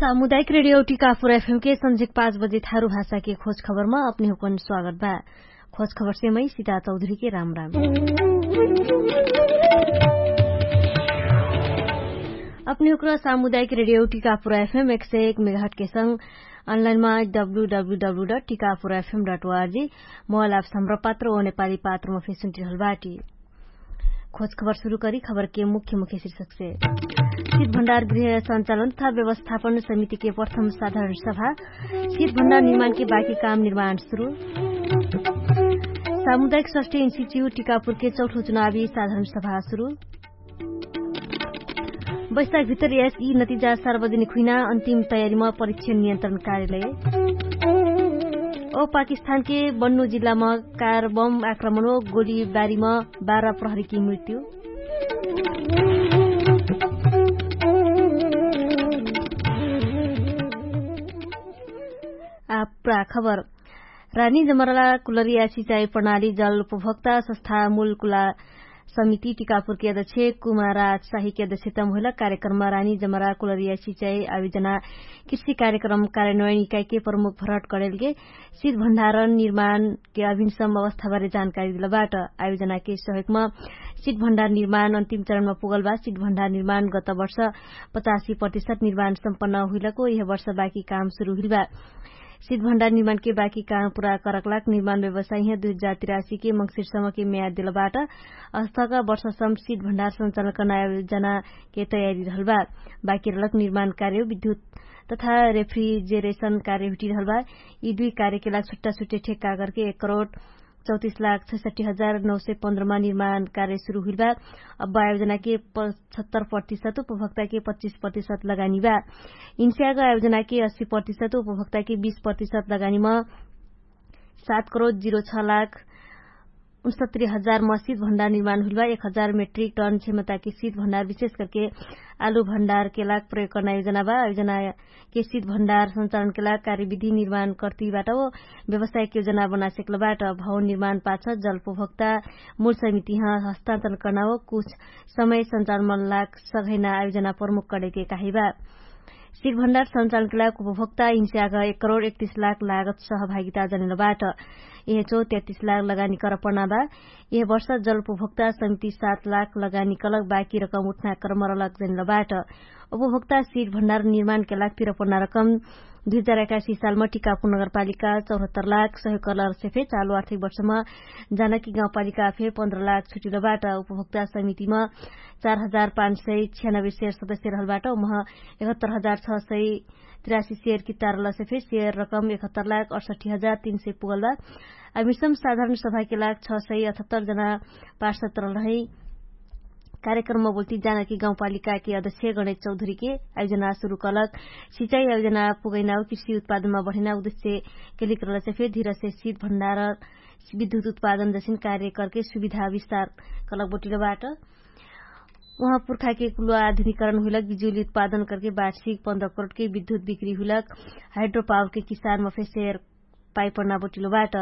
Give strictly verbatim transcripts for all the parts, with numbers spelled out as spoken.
सामुदायिक रेडियो टिकापुर एफएम के सन्झिक पाँच बजे थारु भाषा के खोज खबरमा अपने हुकन स्वागत बा। खोज खबर से मै सिता चौधरी के राम राम। अपने हुक्र सामुदायिक रेडियो टिकापुर एफएम एक सय एक मेगाहट के संग अनलाइनमा W W W dot Tikapur FM dot ORG mobile apps हमरा पात्र ओ नेपाली पात्रमा फेसुन्टिरहल बाटी। खोज खबर सुरु करी खबर के मुख्य मुख्य शीर्षक से। शीत भण्डार गृह सञ्चालन तथा व्यवस्थापन समिति के प्रथम साधारण सभा। शीत भण्डार निर्माण के बाकी काम निर्माण सुरु। सामुदायिक स्वास्थ्य इन्स्टिच्युट टिकापुर के चौथो चुनावी साधारण सभा सुरु। बैशाख भित्र यस यी नतिजा सार्वजनिक हुइना अन्तिम तयारीमा परीक्षण नियन्त्रण कार्यालय। ओ पाकिस्तान के बन्नु जिल्लामा कार बम आक्रमण ओ गोलीबारीमा बाह्र प्रहरीकी मृत्यु। आ पुरा खबर। रानी जमराला कुलरिया सिचाइ प्रणाली जल उपभोक्ता सस्था मुलकुला समिति टिकापुरके अध्यक्ष कुमारा साहिके अध्यक्षतम होइला कार्यक्रममा रानी जमराला कुलरिया सिचाइ आविजना कृषि कार्यक्रम कार्यन्वयन इकाइके प्रमुख भरट कडेलके सित भण्डारण निर्माणके अभिनसम अवस्थाबारे जानकारी दिलबाट। आविजनाके सहयोगमा सित भण्डार निर्माण अन्तिम चरणमा पुगलबा सित भण्डार निर्माण गत वर्ष पचासी प्रतिशत निर्माण सम्पन्न हुइलको यह वर्ष बाकी काम सुरु हुइलबा। सित भण्डार निर्माणके बाकी काम पुरा करकलाक निर्माण व्यवसाय दुई हजार तिरासीके मङ्सिरसम्मके म्याद दिलबाट अस्थका वर्षसम्म सित भण्डार सञ्चालन कर्ना आयोजनाके तयारी रहलबा। बाकी रहलक निर्माण कार्य विद्युत तथा रेफ्रिजेरेशन कार्य हुटिरहलबा। यी दुई कार्यके लाग छुट्टा छुट्टे ठेक्का करके एक करोड चौतिस लाख छैसट्ठी हजार नौ सय पन्ध्रमा निर्माण कार्य सुरु हुइलबा। अब आयोजनाके पचहत्तर प्रतिशत उपभोक्ताके पच्चिस प्रतिशत लगानी बा। इन्स्याग आयोजनाके अस्सी प्रतिशत उपभोक्ताके बीस प्रतिशत लगानीमा सात करोड जिरो छ लाख उनसत्तरी हजार मसित भण्डार निर्माण हुइलबा एक हजार मेट्रिक टन क्षमताके सित भण्डार विशेष करके आलु भण्डारके लाग प्रयोग कर्ना योजना बा। योजनाके सित भण्डार सञ्चालनके लाग कार्यविधि निर्माण कर्तिबाट हो व्यवसायिक योजना बनासेक्लबाट। भवन निर्माण पाछ जल उपभोक्ता मूल समितिह हस्तान्तरण कर्ना हो कुछ समय सञ्चालनमन लाग सघैना आयोजना प्रमुख कडेके काहिबा। सिर भण्डार सञ्चालनके लाग उपभोक्ता हिंस्याग एक करोड एकतिस लाख लागत सहभागिता जनेलबाट। यह चौ तेतिस लाख लगानी करपना बा। यह वर्ष जल उपभोक्ता समिति सात लाख लगानी कलक बाकी रकम उठना कर्मरलक जनेलबाट। उपभोक्ता सिर भण्डार निर्माणके लाग तिरपना रकम दुई हजार एकासी सालमा टिकापुर नगरपालिका चौहत्तर लाख सहयोग कलर सेफे चालु आर्थिक वर्षमा जानकी गाउँपालिका फे पन्ध्र लाख छुटिलबाट। उपभोक्ता समितिमा चार हजार पाँच सय छ्यानब्बे सेर सदस्य रहलबाट उमह एकहत्तर हजार छ सय तिरासी सेर कित्तारल सेफे सेर रकम एकहत्तर लाख अठसट्ठी हजार तीन सय पुगलबा। अमिसम साधारण सभाके लाग छ सय अठहत्तर जना पार्षद रहलहै। कार्यक्रममा बोल्ती जानकी गाउँपालिकाके अध्यक्ष गणेश चौधरीके आयोजना सुरु कलक सिचाइ आयोजना पुगैना कृषि उत्पादनमा बढैना उद्देश्य केलिक रहलसे फेर धिरसे सित भण्डार विद्युत उत्पादन जसिन कार्य करके सुविधा विस्तार कलक बोटिलबाट। उहाँ पुर्खाके कुलो आधुनिकरण हुइलक बिजुली उत्पादन करके वार्षिक पन्ध्र करोडके विद्युत बिक्री हुइलक हाइड्रोपावरके किसानमा फेर सेर पाइपण्ना बोटिलो बाट।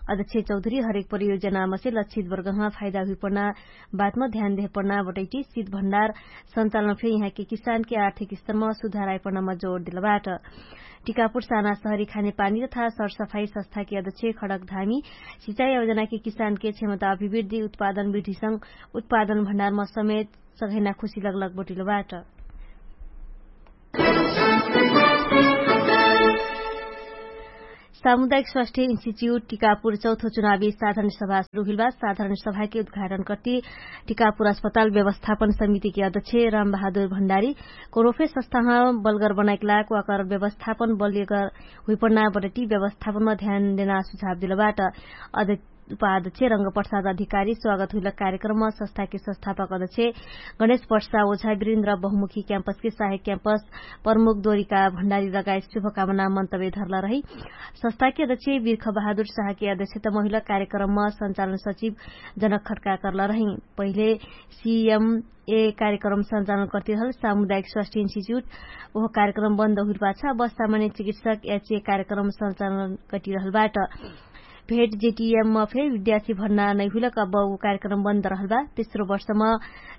अध्यक्ष चौधरी हरेक परियोजनामा से लक्षित वर्गमा फाइदा हुइपण्ना बातमा ध्यान देहपण्ना बटैटी सित भण्डार सञ्चालन फे यहाँके किसानके आर्थिक स्तरमा सुधार आइपण्नामा जोड दिलबाट। टिकापुर साना सहरी खाने पानी तथा सरसफाई सस्थाके अध्यक्ष खडक धामी सिचाइ अवजनाके किसानके क्षमता अभिवृद्धि उत्पादन वृद्धिसँग उत्पादन भण्डारमा समेत सघैना खुशी लगलग बोटिलो बाट। सामुदायिक स्वास्थ्य इन्स्टिच्युट टिकापुर चौथो चुनावी साधारण सभा सुरु हुइलबा। साधारण सभाके उद्घाटन कर्ति टिकापुर अस्पताल व्यवस्थापन समितिके अध्यक्ष रामबहादुर भण्डारी कोरोफे सस्थाह बलगर बनाइकलाक वाकर व्यवस्थापन बलियगर हुइपण्ना बटटी व्यवस्थापनमा ध्यान देना सुझाव दिलबाट। अध्यक्ष उपाध्यक्ष रङ्गप्रसाद अधिकारी स्वागत हुइलक कार्यक्रममा सस्थाके सस्थापक अध्यक्ष गणेश प्रसाद ओझा विरेन्द्र बहुमुखी क्याम्पसके साहेक क्याम्पस प्रमुख दोरिका भण्डारी लगायत शुभकामना मन्तव्य धरला रही। सस्थाके अध्यक्ष बिर्ख बहादुर साहके अध्यक्षतमा हुइलक कार्यक्रममा सञ्चालन सचिव जनक खड्का कर्ला रही। पहिले सिएमए कार्यक्रम सञ्चालन कर्तिरहल सामुदायिक स्वास्थ्य इन्स्टिच्युट ओह कार्यक्रम बन्द हुइल पाछा बस्तामाने चिकित्सक याचे कार्यक्रम सञ्चालन कर्तिरहल बाट। भेट जेटिएममा फे विद्यार्थी भर्ना नैहुइलक अब उ कार्यक्रम बन्द रहलबा। तेस्रो वर्षमा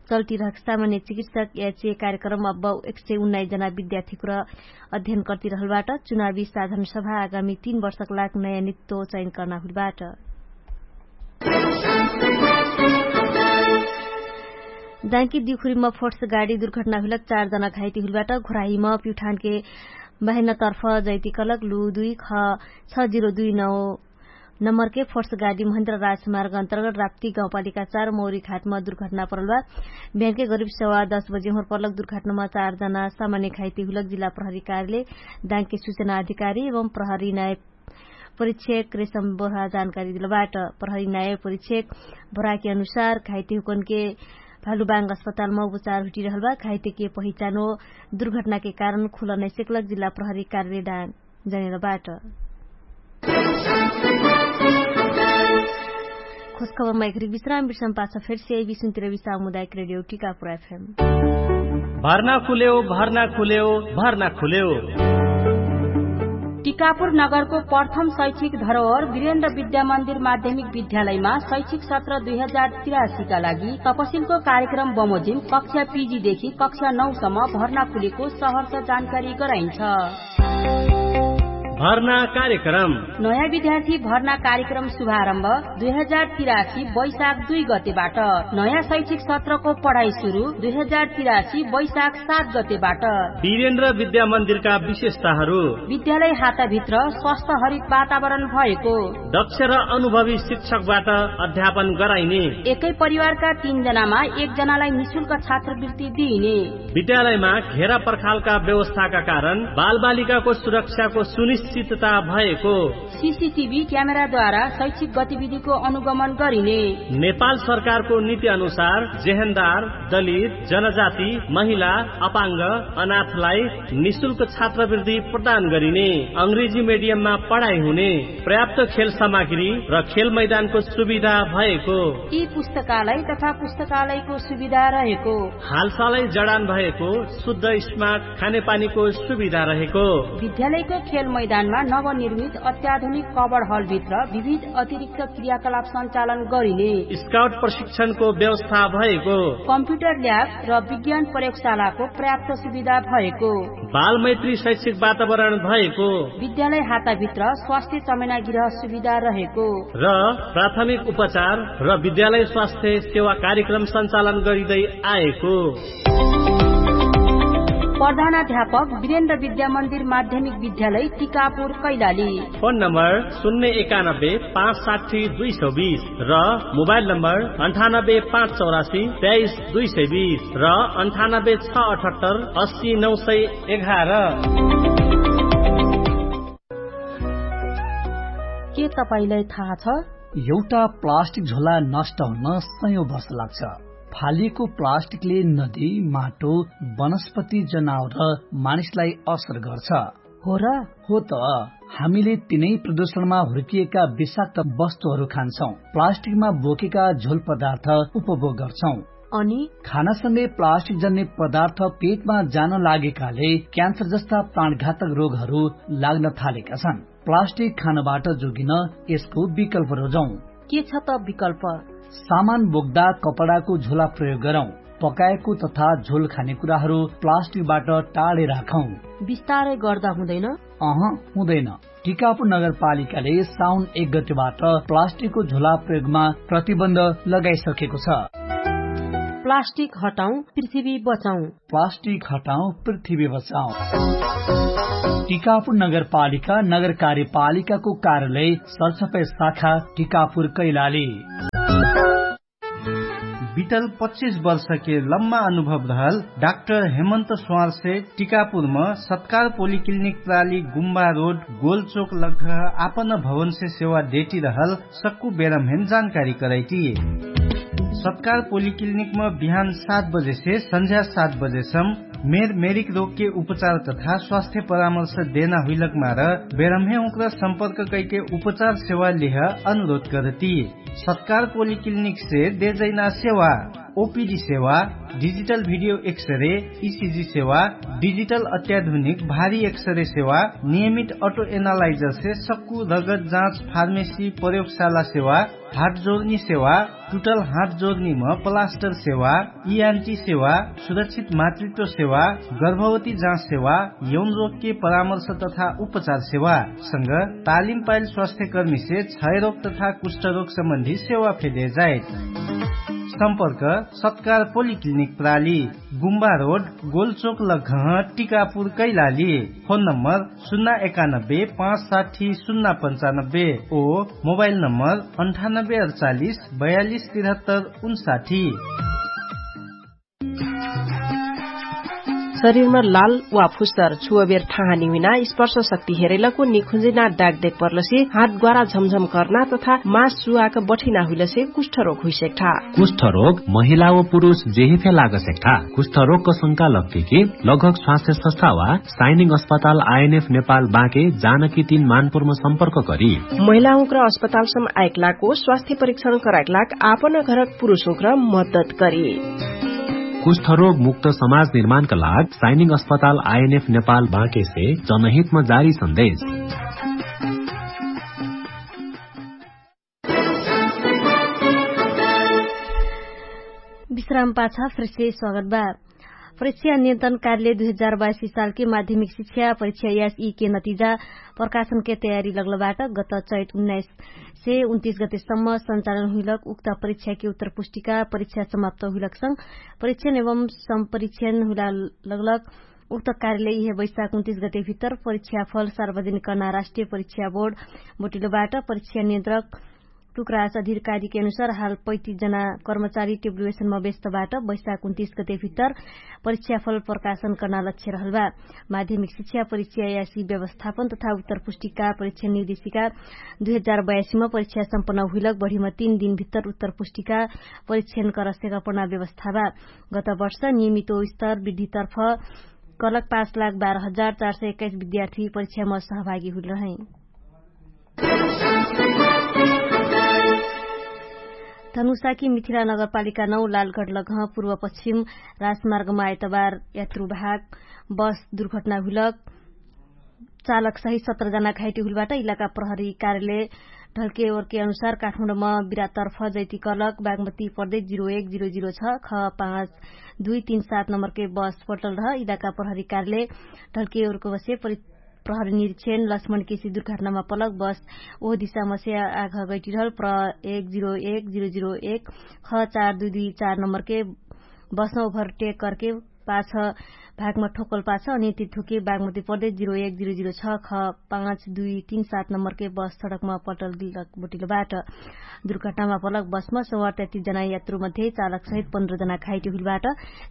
चल्टिरहक सामान्य चिकित्सक याचे कार्यक्रम अब एक सय उन्नाइस जना विद्यार्थीकुर अध्ययन कर्तिरहलबाट। चुनावी साधन सभा आगामी तीन वर्षक लाग नयाँ नित्तो चयन कर्ना हुइलबाट। दाङ्की दिउखुरीमा फोर्स गाडी दुर्घटना हुइलक चार जना घाइती हुइलबाट। घुराहीमा पिउठानके बाहिनतर्फ जैतिकलक लु दुई ख छ जिरो दुई नौ नम्बरके फोर्स गाडी महेन्द्र राजमार्ग अन्तर्गत राप्ती गाउँपालिका चार मौरी घाटमा दुर्घटना परलबा। बिहानके गरिब सेवा दस बजे होर परलक दुर्घटनामा चार जना सामान्य घाइती हुइलक जिल्ला प्रहरी कार्यालय दाङ्की सूचना अधिकारी एवं प्रहरी नायक परीक्षक रेशम बोरा जानकारी दिलबाट। प्रहरी नायक परीक्षक बोराके अनुसार घाइती हुकनके भालुबाङ्ग अस्पतालमा उपचार हुटिरहलबा। घाइतीके पहिचानो दुर्घटनाके कारण खुल नैसेकलक जिल्ला प्रहरी कार्यालय दाङ्की जनेर बाट। खोजखबरमा एकरी विश्राम विश्राम पाछ फेर से एबी सुन्तिर विश्राम मुदायक रेडियो टिकापुर एफएम। भर्ना खुलेउ भर्ना खुलेउ भर्ना खुलेउ। टिकापुर नगरको प्रथम शैक्षिक धरोहर वीरेन्द्र विद्यामन्दिर माध्यमिक विद्यालयमा शैक्षिक सत्र दुई हजार तिरासीका लागि तपसिलको कार्यक्रम बमोजिम कक्षा पिजीदेखि कक्षा नौसम्म भर्ना खुलेको सहरका जानकारी गराइन्छ। भर्ना कार्यक्रम। नयाँ विद्यार्थी भर्ना कार्यक्रम शुभारम्भ दुई हजार तिरासी वैशाख दुई गतेबाट। नयाँ शैक्षिक सत्रको पढाइ सुरु दुई हजार तिरासी वैशाख सात गतेबाट। वीरेन्द्र विद्यामन्दिरका विशेषताहरू। विद्यालय हाताभित्र स्वस्थ हरित वातावरण भएको। दक्ष र अनुभवी शिक्षकबाट अध्यापन गराइने। एकै परिवारका तीन जनामा एक जनालाई निशुल्क छात्रवृत्ति दिइने। विद्यालयमा घेरा पर्खालका व्यवस्थाका कारण बालबालिकाको सुरक्षाको सुनिश्चितता भएको। सिसिटिभी क्यामेराद्वारा शैक्षिक गतिविधिको अनुगमन गरिने। नेपाल सरकारको नीति अनुसार जेहेन्दार, दलित, जनजाति, महिला, अपाङ्ग, अनाथलाई निशुल्क छात्रवृत्ति प्रदान गरिने। अङ्ग्रेजी मेडियममा पढाइ हुने। पर्याप्त खेल सामग्री र खेल मैदानको सुविधा भएको। यी पुस्तकालय तथा पुस्तकालयको सुविधा रहेको। हालसालै जडान भएको शुद्ध स्मार्ट खानेपानीको सुविधा रहेको। विद्यालयको खेल मैदानमा नवनिर्मित अत्याधुनिक कबड हलभित्र विविध अतिरिक्त क्रियाकलाप सञ्चालन गरिने। स्काउट प्रशिक्षणको व्यवस्था भएको। कम्प्युटर ल्याब र विज्ञान प्रयोगशालाको पर्याप्त सुविधा भएको। बालमैत्री शैक्षिक वातावरण भएको। विद्यालय हाताभित्र स्वास्थ्य चमेना गृह सुविधा रहेको। र प्राथमिक उपचार र विद्यालय स्वास्थ्य सेवा कार्यक्रम सञ्चालन गरिँदै आएको। प्रधानाध्यापक वीरेन्द्र विद्यामन्दिर माध्यमिक विद्यालय टिकापुर कैलाली। फोन नम्बर शून्य एकानब्बे पाँच साठी दुई सौ बिस र मोबाइल नम्बर अन्ठानब्बे पाँच चौरासी तेइस दुई सय बिस र अन्ठानब्बे छ अठहत्तर अस्सी नौ सय एघार। के तपाईंलाई थाहा छ? एउटा प्लास्टिक झोला नष्ट हुन सयौं वर्ष लाग्छ। फालिएको प्लास्टिकले नदी, माटो, वनस्पति, जनावर र मानिसलाई असर गर्छ। हो र? हो त। हामीले तिनै प्रदूषणमा हुर्किएका विषाक्त वस्तुहरू खान्छौं, प्लास्टिकमा बोकेका झोल पदार्थ उपभोग गर्छौं। अनि खानासँगै प्लास्टिक जन्ने पदार्थ पेटमा जान लागेकाले क्यान्सर जस्ता प्राणघातक रोगहरू लाग्न थालेका छन्। प्लास्टिक खानबाट जोगिन यसको विकल्प रोजौं। के छ त विकल्प? सामान बोक्दा कपडाको झोला प्रयोग गरौं। पकाएको तथा झोल खाने कुराहरू प्लास्टिकबाट टाढे राखौं। बिस्तारै गर्दा हुँदैन? अह, हुँदैन। टिकापुर नगरपालिकाले साउन एक गतिबाट प्लास्टिकको झोला प्रयोगमा प्रतिबन्ध लगाइसकेको छ। प्लास्टिक हटाउँ, पृथ्वी बचाउँ। प्लास्टिक हटाउँ, पृथ्वी बचाउँ। टिकापुर नगरपालिका नगर कार्यपालिकाको कार्यालय सरसफाइ शाखा टिकापुर कैलाली। बितल पच्चिस वर्षके लम्मा अनुभव रहल डाक्टर हेमन्त स्वारसे टिकापुरम सत्कार पोलिक्लिनिक प्राली गुम्बा रोड गोलचोक लग्घ आपन भवनसे सेवा देटी रहल सक्कु बेरमहेन जानकारी करैटी। सत्कार पोलिक्लिनिकम बिहान सात बजेसे सन्झ्या सात बजेसम मेर मेरिक रोगके उपचार तथा स्वास्थ्य परामर्श देना हुइलक मार बेरम्हे उक्रा सम्पर्क कैके उपचार सेवा लेह अनुरोध करती। सत्कार पोलिक्लिनिकसे देजैना सेवा, ओपिडी सेवा, डिजिटल भिडियो एक्सरे, इसिजी सेवा, डिजिटल अत्याधुनिक भारी एक्सरे सेवा, नियमित अटो एनालाइजरसे सक्कु रगत जाँच फार्मेसी प्रयोगशाला सेवा, हाट जोर्नी सेवा, टुटल हाट जोर्नीम प्लास्टर सेवा, इआन्टी सेवा, सुरक्षित मातृत्व सेवा, गर्भवती जाँच सेवा, यौन रोगके परामर्श तथा उपचार सेवा, संग तालिम पाइल स्वास्थ्यकर्मीसे क्षयरोग तथा कुष्ठरोग सम्बन्धी सेवा फेदे जाइत। सम्पर्क सत्कार पोलिक्लिनिक प्राली, गुम्बा रोड, गोलचोक लघह, टिकापुर कैलाली। फोन नम्बर सुन्ना एकानब्बे पाँच साठी सुन्ना पन्चानब्बे। ओ मोबाइल नम्बर अन्ठानब्बे अडचालिस बयालिस तिरहत्तर उन्साठी। शरीरमा लाल वा फुस्सर छुवबेर ठाहानी हुइना स्पर्श शक्ति हेरैलको निखुजिना डागदेक पर्लसे हात ग्वारा झमझम कर्ना तथा मास सुवाक बठिना हुइलसे कुष्ठरोग हुइसेक्ठा। कुष्ठरोग महिला व पुरुष जेहिफे लागसेक्ठा। कुष्ठरोगको शंका लग्ठीकी लगहक स्वास्थ्य सस्था वा साइनिङ अस्पताल आइएनएफ नेपाल बाँके जानकी तीन मानपुरमा सम्पर्क करी। महिला हुँक्र अस्पतालसम आइक लाको स्वास्थ्य परीक्षण कराइक लाग आपन घरक पुरुष हुँक्र मद्दत करी। कुष्ठरोग मुक्त समाज निर्माणका लाग साइनिङ अस्पताल आइएनएफ नेपाल बाँकेसे जनहितमा जारी सन्देश। विश्राम पाछा फ्रेसे स्वागत बा। परीक्षा नियन्त्रण कार्यालय दुई हजार बाइसी सालके माध्यमिक शिक्षा परीक्षा यास यीके नतिजा प्रकाशनके तयारी लगलबाट गत चैत उन्नाइस से उन्तिस गतेसम्म सञ्चालन हुइलक उक्त परीक्षाके उत्तर पुष्टिका परीक्षा समाप्त हुइलकसँग परीक्षण एवं सम्परीक्षण हुइला लगलक। उक्त कार्यालय इहे बैशाख उन्तिस गते भित्तर परीक्षा फल सार्वजनिक कर्ना राष्ट्रिय परीक्षा बोर्ड बोटिलोबाट परीक्षा नियन्त्रक टुक्रास अधिकारीके अनुसार हाल पैतिस जना कर्मचारी टेबुलवेसनमा व्यस्तबाट बैशाख उन्तिस गते भित्तर परीक्षा फल प्रकाशन कर्ना लक्ष्य रहलबा। माध्यमिक शिक्षा परीक्षा यासी व्यवस्थापन तथा उत्तर पुष्टिका परीक्षा निर्देशिका दुई हजार बयासीमा परीक्षा सम्पन्न हुइलक बढीमा तीन दिन भित्तर उत्तर पुष्टिका परीक्षण करस्यका पणा व्यवस्थाबा। गत वर्ष नियमित स्तर वृद्धितर्फ कलक पाँच लाख बाह्र हजार चार सय एक्काइस विद्यार्थी परीक्षामा सहभागी हुइल रहै। धनुषाकी मिथिला नगरपालिका नौ लालगढ लगह पूर्व पश्चिम राजमार्गमा आइतबार यात्रु भाग बस दुर्घटना हुइलक चालक सहित सत्र जना घाइटी हुइलबाट इलाका प्रहरी कार्यालय ढल्के ओर्के अनुसार काठमाडौँमा बिरातर्फ जैती कलक बागमती प्रदेश जिरो एक जिरो जिरो छ ख पाँच दुई तीन सात नम्बरके बस पल्टल रह इलाका प्रहरी कार्यालय ढल्के ओर्के बसे प्रहरी निरीक्षण लक्ष्मण केसी दुर्घटनामा पलक बस ओह दिशामा से आघ गैटिरहल प्र एक जिरो एक जिरो जिरो एक ख चार दुई दुई चार नम्बरके बसमा ओभर टेक करके पाछ भागमा ठोकल पाछ अनि तिथुके बागमती प्रदेश जिरो एक जिरो जिरो छ ख पाँच दुई तीन सात नम्बरके बस सडकमा पल्टल बोटिलो बाट। दुर्घटनामा पलक बसमा सवार तैतिस जना यात्रु मध्ये चालक सहित पन्ध्र जना घाइटी हुइलबाट।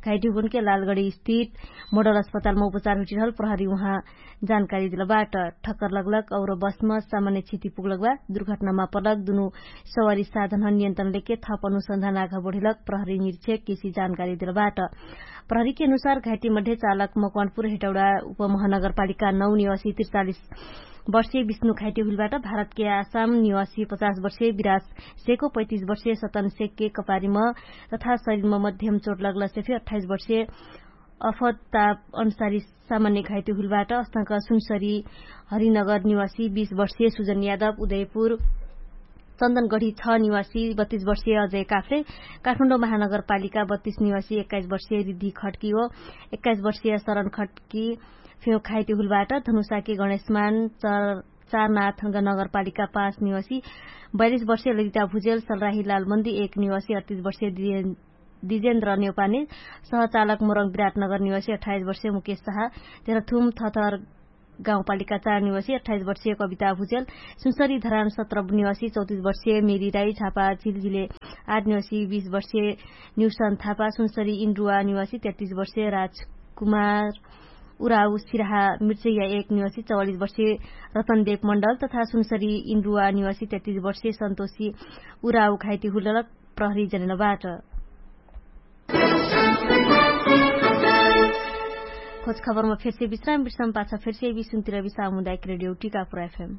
घाइटी हुगुनके लालगढी स्थित मोडल अस्पतालमा उपचार हुइटिरहल प्रहरी उहाँ जानकारी दिलबाट। ठक्कर लगलक और बसमा सामान्य क्षति पुगलक बा। दुर्घटनामा पलक दुनु सवारी साधन नियन्त्रण लेके थप अनुसन्धान आघा बढेलक प्रहरी निरीक्षक केसी जानकारी दिलबाट। प्रहरीके अनुसार घाइटी मध्ये चालक मकवानपुर हेटौडा उपमहानगरपालिका नौ निवासी त्रिचालिस वर्षीय विष्णु घाइटी हुइलबाट। भारतके आसाम निवासी पचास वर्षीय विराज सेको पैतिस वर्षीय सतन सेकके कपारीमा तथा शरीरमा मध्यम चोट लगलसे फे अठाइस वर्षीय अफताप अनुसारी सामान्य घाइते हुइलबाट अस्तक सुनसरी हरिनगर निवासी बीस वर्षीय सुजन यादव उदयपुर चन्दनगढी छ निवासी बत्तीस वर्षीय अजय काफ्रे काठमाडौँ महानगरपालिका बत्तीस निवासी एक्काइस वर्षीय रिद्धि खड्की हो एक्काइस वर्षीय शरण खड्की फेउ घाइते हुइलबाट धनुषाके गणेशमान चारनाथ नगरपालिका पाँच निवासी बयालिस वर्षीय ललिता भुजेल सलराही लालमन्दी एक निवासी अडतिस वर्षीय दिजेन्द्र नेउपाने सहचालक मोरङ विराटनगर निवासी अठाइस वर्षीय मुकेश साहा तेह्रथुम थथर गाउँपालिका चार निवासी अठाइस वर्षीय कविता भुजेल सुनसरी धरान सत्र निवासी चौतिस वर्षीय मेरी राई झापा झिलझिले आठ निवासी बीस वर्षीय न्युसन थापा सुनसरी इन्द्रुवा निवासी तेत्तिस वर्षीय राजकुमार उराउ सिराहा मिर्चैया एक निवासी चौवालिस वर्षीय रतनदेव मण्डल तथा सुनसरी इन्द्रुवा निवासी तेत्तिस वर्षीय सन्तोषी उराउ घाइते हुलक प्रहरी जनेलबाट। खोज खबरमा फेरसे विश्राम विश्राम पाछ फेरसे विश्राम तिरबी सामुदायक रेडियो टिकापुर एफएम।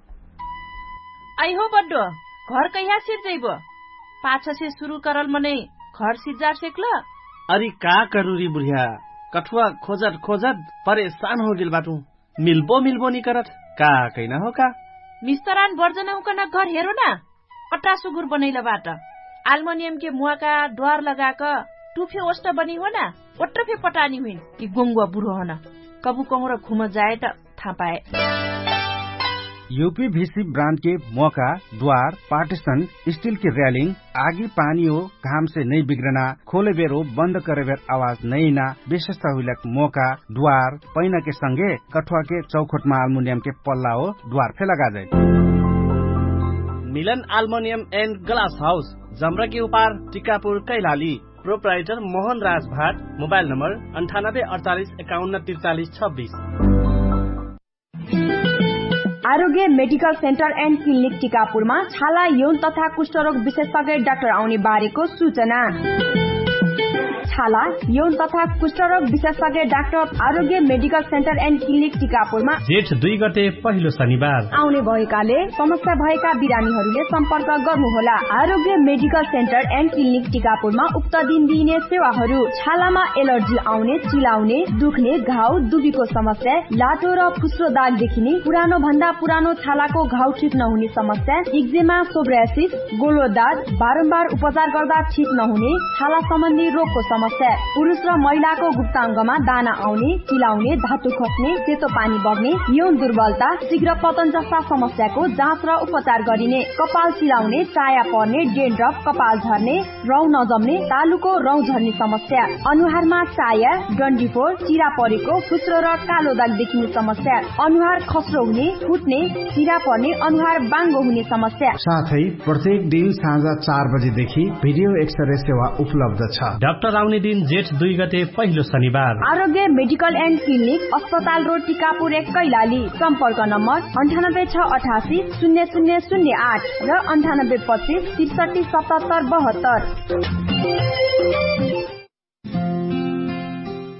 अइहो बड्डो, घर कहिया सिर जइबो? पाछसे सुरु करल मनै घर सिज्जार सेक्ल? अरि का करुरी बुढिया, कठुवा खोजत खोजत परेशान होगेल बाटु। मिल्बो मिल्बो निकरत, का कैना हो का? मिस्तरान बर्जन हुकन घर हेरो ना। पट्टा सुगुर बनैल बाट। आल्मनियमके मुवाका द्वार लगाक टुफे ओष्ट बनी हो ना। ओट्रफे पटानी हुइन कि गोङ्गुवा बुढो हन। कबु कहुँर घुम जाए त थापाए। युपी भिसी ब्रान्डके मोका, द्वार, पार्टिसन, स्टिलके र्यालिङ, आगी पानी हो घामसे नै बिग्रना, खोलेबेर हो बन्द करेबेर आवाज नैना, विशेषता हुइलक मोका, द्वार, पैनाके संगे कठुवाके चौखोटमा आल्मुनियमके पल्ला हो द्वार फे लगाजै। मिलन आल्मुनियम एन्ड ग्लास हाउस, जम्रकी उपार, टिकापुर, कैलाली। प्रोप्राइटर मोहन राज भाट। मोबाइल नम्बर अन्ठानब्बे अडचालिस एकाउन्न त्रिचालिस छब्बिस। आरोग्य मेडिकल सेन्टर एन्ड क्लिनिक टिकापुरमा छाला यौन तथा कुष्ठरोग विशेषज्ञ डाक्टर आउने बारेको सूचना। छाला यौन तथा कुष्ठरोग विशेषज्ञ डाक्टर आरोग्य मेडिकल सेन्टर एन्ड क्लिनिक टिकापुरमा जेठ दुई गते पहिलो शनिबार आउने भएकाले समस्या भएका बिरामीहरूले सम्पर्क गर्नुहोला। आरोग्य मेडिकल सेन्टर एन्ड क्लिनिक टिकापुरमा उक्त दिन दिइने सेवाहरू छालामा एलर्जी आउने, चिलाउने, दुख्ने, घाउ, दुबीको समस्या, लाटो र फुस्रो दाग देखिने, पुरानो भन्दा पुरानो छालाको घाउ ठिक नहुने समस्या, इक्जेमा, सोब्रासिस, गोलो दाग, बारम्बार उपचार गर्दा ठिक नहुने छाला सम्बन्धी रोगको समस्या, पुरुष र महिलाको गुप्ताङ्गमा दाना आउने, चिलाउने, धातु खस्ने, सेतो पानी बग्ने, यौन दुर्बलता, शीघ्र पतन जस्ता समस्याको जाँच र उपचार गरिने, कपाल चिलाउने, चाया पर्ने, डेन्ड्रफ, कपाल झर्ने, रौँ नजम्ने, तालुको रौँ झर्ने समस्या, अनुहारमा चाया, डन्डीफोर, चिरा परेको, फुस्रो र कालो दाग देखिने समस्या, अनुहार खस्रो हुने, फुट्ने, चिरा पर्ने, अनुहार बाङ्गो हुने समस्या। साथै प्रत्येक दिन साँझ चार बजेदेखि भिडियो एक्सरे सेवा उपलब्ध छ। डाक्टर आउने दिन जेठ दुई गते पहिलो शनिबार। आरोग्य मेडिकल एन्ड क्लिनिक, अस्पताल रोड, टिकापुर एक, कैलाली। सम्पर्क नम्बर अन्ठानब्बे छ अठासी शून्य शून्य शून्य आठ र अन्ठानब्बे पच्चिस त्रिसठी सतहत्तर बहत्तर।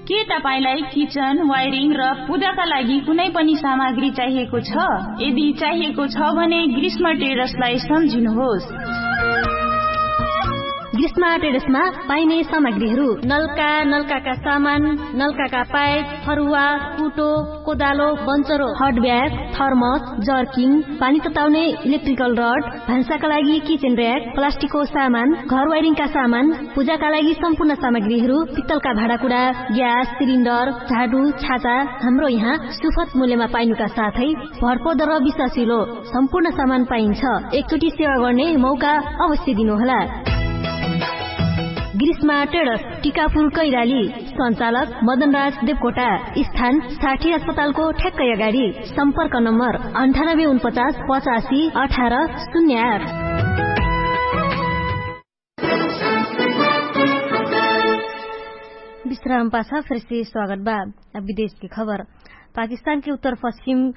के तपाईंलाई किचन, वायरिङ र पूजाका लागि कुनै पनि सामग्री चाहिएको छ? यदि चाहिएको छ भने ग्रीष्म ट्रेडर्सलाई सम्झिनुहोस्। ग्रीष्म ट्रेडर्समा पाइने सामग्रीहरू: नलका, नलकाका सामान, नलकाका पाइप, फरुवा, कुटो, कोदालो, बन्चरो, हट ब्याग, थर्मस, जर्किङ, पानी तताउने इलेक्ट्रिकल रड, भान्साका लागि किचन र्‍याक, प्लास्टिकको सामान, घर वायरिङका सामान, पूजाका लागि सम्पूर्ण सामग्रीहरू, पित्तलका भाँडाकुडा, ग्यास सिलिन्डर, झाडु, छाता, हाम्रो यहाँ सुपथ मूल्यमा पाइनुका साथै भरपर्दो र विश्वासिलो सम्पूर्ण सामान पाइन्छ। एकचोटि सेवा गर्ने मौका अवश्य दिनुहोला। ग्रीष्मा ट्रेडर्स, टिकापुर, कैलाली। सञ्चालक मदनराज देवकोटा। स्थान साठी अस्पतालको ठ्याक्कै अगाडि। सम्पर्क नम्बर अन्ठानब्बे उनपचास पचासी अठार शून्य आठ। विश्राम पाछा फेरसे स्वागत बा। अब विदेशके खबर। पाकिस्तानके उत्तर पश्चिम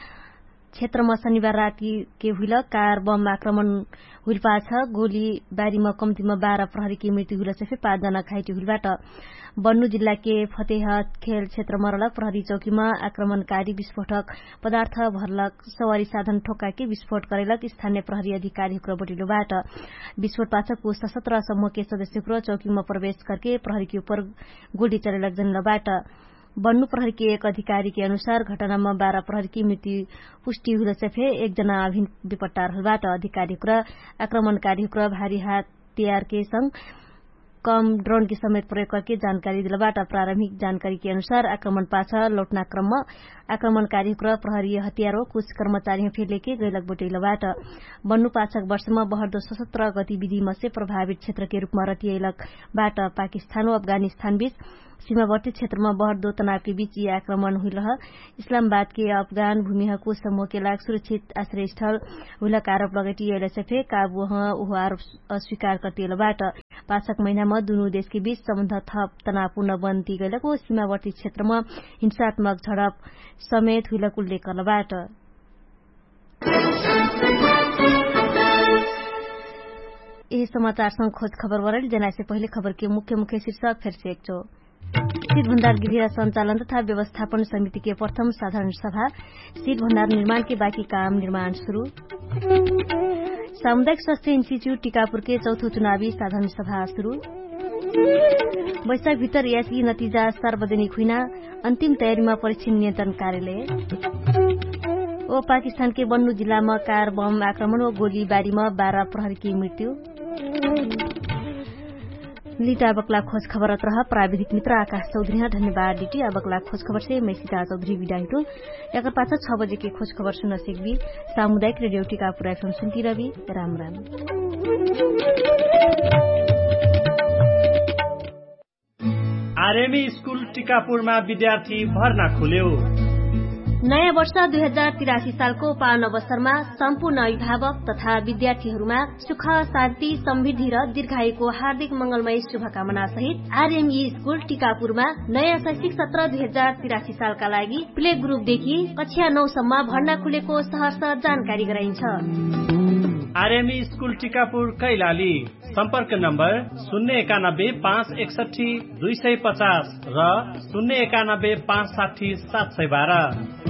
क्षेत्रमा शनिबार रातिके हुइल कार बम आक्रमण हुइल पाछ गोली बारीमा कम्तीमा बाह्र प्रहरीके मृत्यु हुइल सफे पाँच जना घाइटी हुइल बाट। बन्नु जिल्लाके फतेह खेल क्षेत्रमा रहलक प्रहरी चौकीमा आक्रमणकारी विस्फोटक पदार्थ भरलक सवारी साधन ठोक्काके विस्फोट करैलक स्थानीय प्रहरी अधिकारी हुक्र बटिलो बाट। विस्फोट पाछ कुछ सशस्त्र समूहके सदस्य हुक्र चौकीमा प्रवेश करके प्रहरीके उपर गोली चलैलक जनल बाट। बन्नु प्रहरीके एक अधिकारीके अनुसार घटनामा बाह्र प्रहरीके मृत्यु पुष्टि हुइल सफे एक जना अभिन विपट्टा रहल बाट। अधिकारी हुक्र आक्रमणकारी हुक्र भारी हात तियारके संग कम ड्रोनके समेत प्रयोग करके जानकारी दिल बाट। प्रारम्भिक जानकारीके अनुसार आक्रमण पाछ लौटना क्रममा आक्रमणकारी हुक्र प्रहरी हतियारो कुछ कर्मचारीमा फेर लेके गैलक बटैल बाट। बन्नु पाछक वर्षमा बहर्दो सशस्त्र गतिविधिमा से प्रभावित क्षेत्रके रूपमा रतियैलक बाट। पाकिस्तान व अफगानिस्तान बीच सीमावर्ती क्षेत्रमा बहर्दो तनावके बीच यि आक्रमण हुइलह। इस्लामबादके अफगान भूमिह कुछ समूहके लाग सुरक्षित आश्रयस्थल हुइलक आरोप लगैटी यैलसे फे काबुह उहो आरोप अस्वीकार कर्तियल बाट। पाछक महिनामा दुनु देशके बीच सम्बन्ध थप तनावपूर्ण बन्ती गैलक ओ सीमावर्ती क्षेत्रमा हिंसात्मक झडप समेत हुइलक उल्लेख कर्ल बाट। यही समाचारसँग खोज खबर वरैल जनाइसे पहिले खबरके मुख्य मुख्य शीर्षक फेरसे एकचो। शीत भण्डार गृह सञ्चालन तथा व्यवस्थापन समितिके प्रथम साधारण सभा। शीत भण्डार निर्माणके बाकी काम निर्माण सुरु। सामुदायिक स्वास्थ्य इन्स्टिच्युट टिकापुरके चौथो चुनावी साधारण सभा सुरु। बैशाख भितर यासी नतिजा सार्वजनिक हुइना। अन्तिम तयारीमा परीक्षण नियन्त्रण कार्यालय। ओ पाकिस्तानके बन्नु जिल्लामा कार बम आक्रमण ओ गोली बारीमा बाह्र प्रहरीके मृत्यु। लिटा बक्ला खोज खबर अत्रह प्राविधिक मित्र आकाश चौधरी ह। धन्यवाद डिटी अबक्ला खोज खबरसे मैसिता चौधरी बिडाहिटु। यकर पाछ छ बजेके खोज खबर सुन सेकबी। सामुदायिक रेडियो टिकापुर एफएम सुन्ती रबी। राम राम। आरएमई स्कुल टिकापुरमा विद्यार्थी भर्ना खुल्यो। नयाँ वर्ष दुई हजार तिरासी सालको पावन अवसरमा सम्पूर्ण अभिभावक तथा विद्यार्थीहरूमा सुख, शान्ति, समृद्धि र दीर्घायुको हार्दिक मंगलमय शुभकामना सहित आरएमई स्कुल टिकापुरमा नयाँ शैक्षिक सत्र दुई हजार तिरासी सालका लागि प्ले ग्रुपदेखि कक्षा नौसम्म भर्ना खुलेको सहर्ष जानकारी गराइन्छ। आरएमई स्कुल टिकापुर कैलाली। सम्पर्क नम्बर शून्य एकानब्बे पाँच एकसट्ठी दुई सय पचास र शून्य एकानब्बे पाँच साठी सात सय बाह्र।